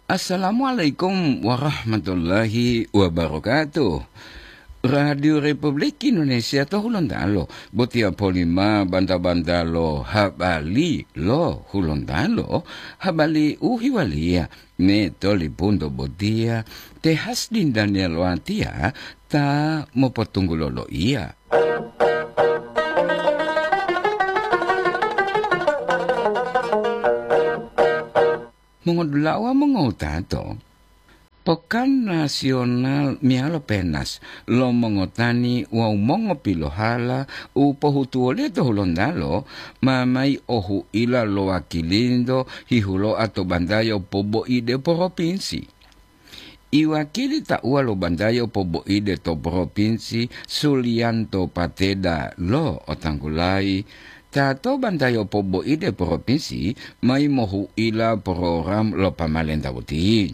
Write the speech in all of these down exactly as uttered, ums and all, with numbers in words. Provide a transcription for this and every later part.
Assalamualaikum warahmatullahi wabarakatuh. Radio Republik Indonesia to Hulontalo, botiya polima banta-banta lo habali lo Hulontalo, habali u hiwaliya me tolipunto botiya te Hasdin Daniel Watiya ta mopotunggulo loiya. Mongodula'a wawu mongotato, Pokan Nasional meyalo Penas lo mongotani wawu mongopilohala u pohutuwoliyo to Hulontalo ma mayi ohu'ila lo wakilinto hihulo'a to bantayo poboide poropinsi. Iwakili tauwa lo bantayo poboide to poropinsi Suliyanto Pateda lo otanggulayi, ta to bantayo poboide poropinsi mayi mohu'ila program lo pamalenta boti.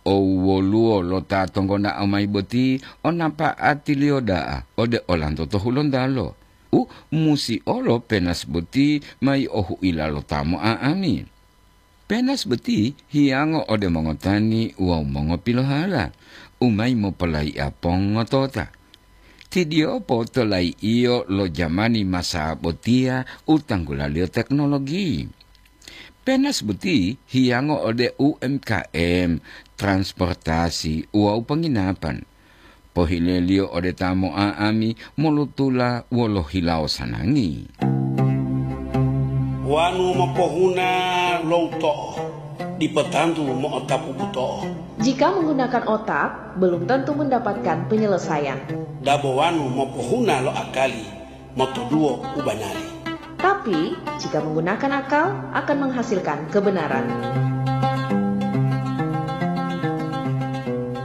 Owoluwo lo ta tonggonao mayi boti o napa'atiliyo da'a ode olanto to Hulontalo. U musi olo Penas boti mayi ohu'ila lo ta mo'a'ami. Penas boti hiyango ode mongotani wawu mongopilohala u mayi mopolayi'a pongotota. Tidiyopo to layi'iyo lo jamani masa botiya u tanggulaliyo teknologi. Penas boti hiyango ode U M K M, transportasi wawu penginapan. Pohileliyo ode ta mo'a'ami molutula wolo hilawo sanangi. Wanu mopohuna lo uto'o, dipo tantu mo'otapu buto'o. Jika menggunakan otak, belum tentu mendapatkan penyelesaian. Dabo wanu mopohuna lo akali, motoduwo u banari. Tapi, jika menggunakan akal, akan menghasilkan kebenaran.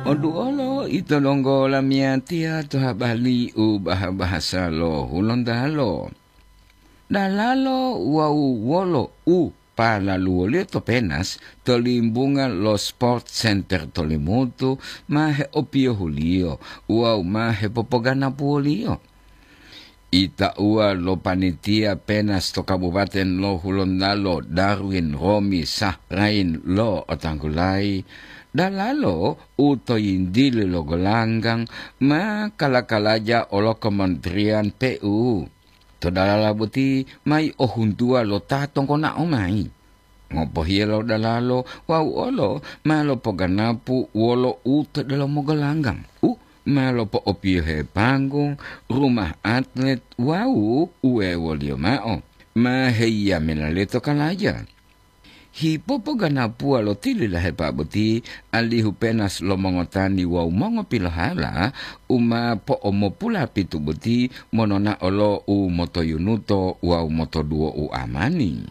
Oduolo ito donggo lamiyatiya to habali u baha-bahasa lo Hulontalo. Dalalo wawu wolo u palaluwoliyo to Penas to limbunga lo Sport Center to Limutu ma heopiyohuliyo wawu ma hepopoganapuwoliyo. Itauwa lo panitia Penas to Kabupaten lo Hulontalo, Darwin Romi Sahrain lo otanggulayi, dalalo u to yintili lo golanggang ma kala-kalaja olo Kementerian P U. To dalala boti mayi ohuntuwa lo ta tonggonao mayi. Ngopohiya lo dalalo wawu olo ma lopoganapu wolo u to delomo golanggang, u ma lopo'opiyohe panggung, rumah atlet wawu uwewoliyo ma'o, ma heyiya melale to kalaja. Hipopoganapuwa lo tililahepa boti, alihu Penas lo mongotani wawu mongopilohala u ma po'omopulapitu boti mononao lo u motoyunuto wawu motoduwo u amani.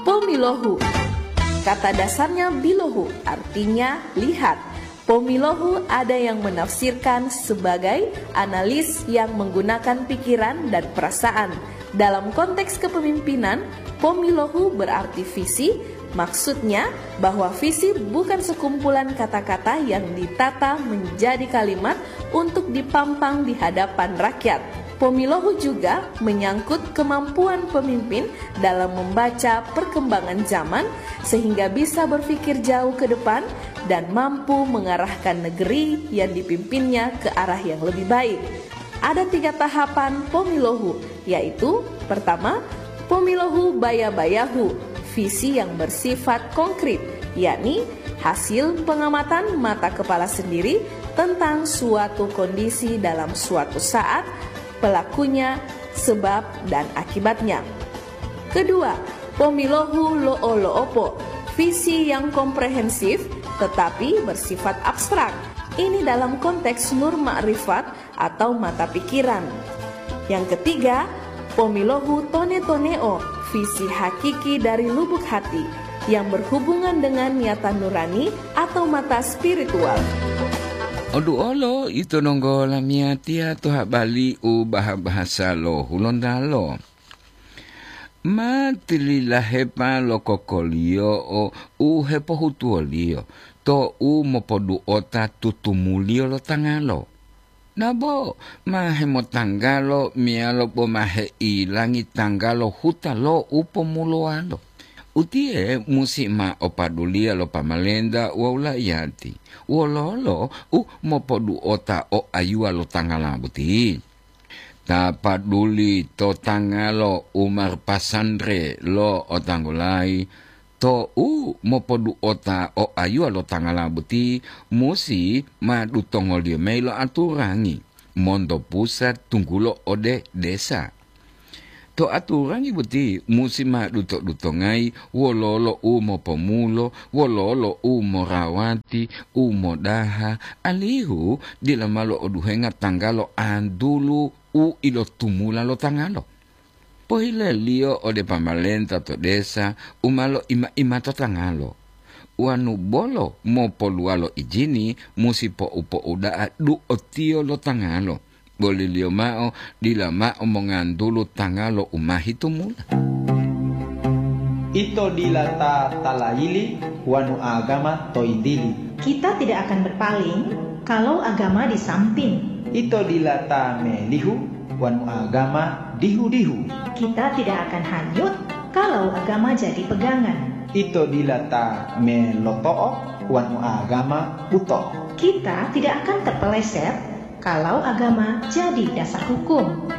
Pomilohu. Kata dasarnya bilohu, artinya lihat. Pomilohu ada yang menafsirkan sebagai analis yang menggunakan pikiran dan perasaan. Dalam konteks kepemimpinan, pomilohu berarti visi, maksudnya bahwa visi bukan sekumpulan kata-kata yang ditata menjadi kalimat untuk dipampang di hadapan rakyat. Pomilohu juga menyangkut kemampuan pemimpin dalam membaca perkembangan zaman sehingga bisa berpikir jauh ke depan dan mampu mengarahkan negeri yang dipimpinnya ke arah yang lebih baik. Ada tiga tahapan pomilohu, yaitu pertama, pomilohu baya-bayahu, visi yang bersifat konkret, yakni hasil pengamatan mata kepala sendiri tentang suatu kondisi dalam suatu saat, pelakunya, sebab, dan akibatnya. Kedua, pomilohu lo'o-lo'opo, visi yang komprehensif tetapi bersifat abstrak. Ini dalam konteks nur makrifat atau mata pikiran. Yang ketiga, pomilohu tone-toneo, visi hakiki dari lubuk hati yang berhubungan dengan niatan nurani atau mata spiritual. Oduolo ito donggo lamiyatiya to habali u baha-bahasa lo Hulontalo. Ma tililahepa lo kokoliyo'o u hepohutuwoliyo to u mopoduota tutumuliyo lo tangalo. Nabo ma hemotanggalo meyalo bo ma heilangi tanggalo huta lo u pomulowalo. Utiye musi ma opaduliya lo pamalenta wawu laiyati. Wololo u mopoduota o ayuwa lo tangala boti? Ta paduli to tangalo u marpasandre lo otanggulayi, to u mopoduota o ayuwa lo tangala boti musi ma dutongoliyo mayi lo aturangi monto pusat tunggulo ode desa. To aturangi boti musi ma duto-dutongayi wololo u mopomulo, wololo u morawati, u modaha, alihu dila ma lo'oduhenga tanggalo antulu u ilotumula lo tangalo. Pohileliyo ode pamalenta to desa u ma loima-imato tangalo. Wanu bolo mopoluwalo ijini, musi po'u-po'uda'a du'otiyo lo tangalo. Boliliyo mao, dila mao mongantulu tangalo u ma hitumula. Ito dila ta talayili wanu agama to yintili. Kita tidak akan berpaling kalau agama di samping. Ito dila ta melihu wanu agama dihu-dihu. Kita tidak akan hanyut kalau agama jadi pegangan. Ito dila ta meloto'o wanu agama buto'o. Kita tidak akan terpeleset kalau agama jadi dasar hukum.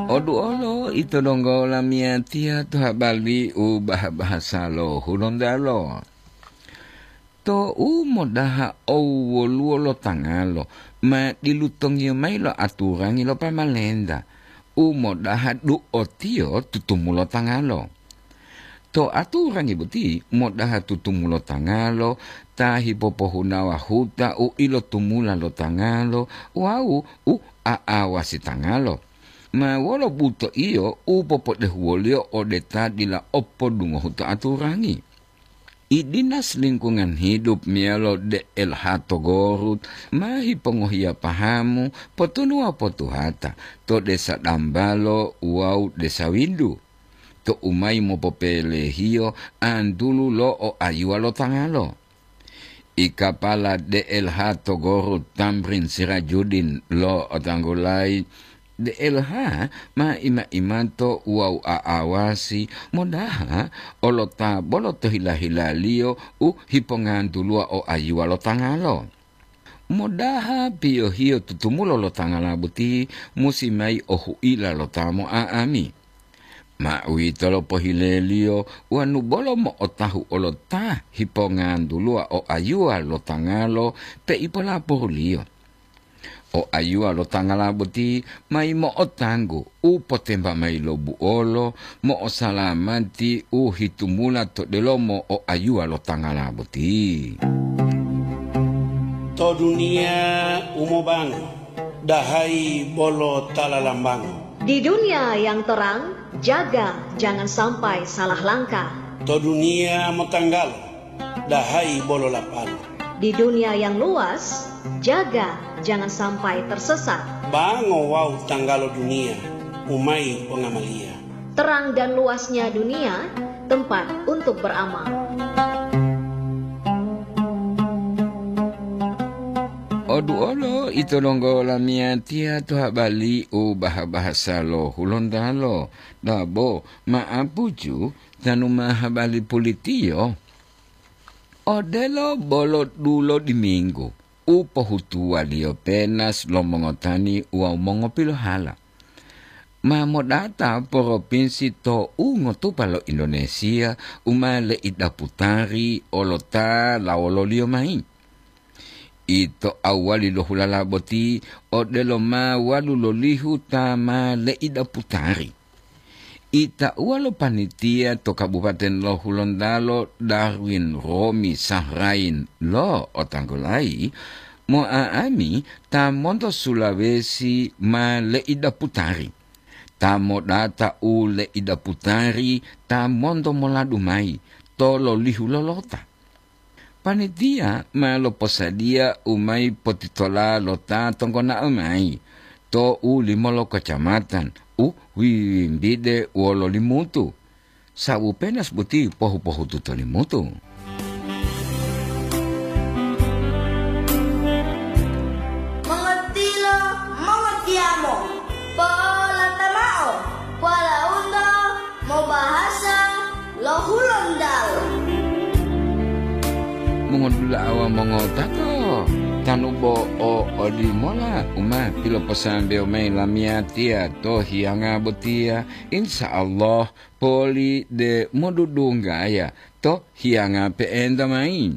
Oduolo ito donggo lamiyatiya to habari u baha-bahasa lo Hulontalo. To u modaha owoluwo lo tangalo, ma dilutongiyo mayi lo aturangi lo pamalenta, u modaha du'otiyo tutumulo tangalo. To aturangi boti modaha tutumulo tangalo, ta hipopohunawa huta u ilotumula lo tangalo wawu u a'awasi tangalo. Ma wolo butoiyo u popodehuwoliyo ode ta dila o podungohu to aturangi? I Dinas Lingkungan Hidup meyalo D L H to Gorut ma hipongohiya pahamu potunuwa potuhata to Desa Dambalo wawu Desa Windu, to u mayi mopopelehiyo antulu lo o ayuwa lo tangalo. I kapala D L H to Gorut Tamrin Sirajudin lo otanggulayi, D L H ma ima-imato wawu a'awasi modaha olota bolo to hila-hilaliyo u hipongantuluwa o ayuwa lo tangalo. Modaha piyohiyo tutumulo lo tangala boti musi mayi o huila lo ta mo'a'ami. Ma uwitolo pohileliyo wanu bolo mo'otahu olo ta hipongantuluwa o ayuwa lo tangalo peipo laporuliyo. O ayuwa lo tangala boti mayi mo'otanggu u potemba mayi lo buolo mo'osalamati u hitumula to delomo o ayuwa lo tangala boti. To duniya u mobango, dahayi bolo ta lalambango. Di dunia yang terang, jaga jangan sampai salah langkah. To duniya motanggalo, dahayi bolo lapalo. Di dunia yang luas, jaga jangan sampai tersesat. Bango wawu tanggalo duniya, u mayi pongamaliya. Terang dan luasnya dunia, tempat untuk beramal. Oduolo ito donggo lamiyatiya to habari u baha-bahasa lo Hulontalo, dabo ma'apuju tanu ma habari pulitiyo. Odelo bolo dulo diminggu u pohutuwaliyo penas lo mongotani wawu mongopilohala. Ma modata poropinsi to u ngotupa lo Indonesia u ma leidaputari olota lawololiyo mayi. Ito awali lo hulala boti odelo ma walu lolihu ta ma leidaputari. Itauwa lo panitia to Kabupaten lo Hulontalo Darwin Romi Sahrain lo otanggulayi, mo'a'ami ta monto Sulawesi ma leidaputari. Ta modata u leidaputari ta monto moladu mayi to lolihu lolota. Panitia ma loposadiya u mayi potitola lo ta tonggonao mayi to u limolo kocamatan u wiwimbide wolo Limutu, sabu penas boti pohu-pohutu to Limutu. Mongotilo, mongotiyamo, po'olata mao. Mobahasa lo Hulontalo. Mongodula'a wawu mongotato, tanu bo o olimola u ma piloposambewo mayi lamiyatiya to hiyanga botiya, insya Allah poli de modudunggaya to hiyanga pe'enta mayi.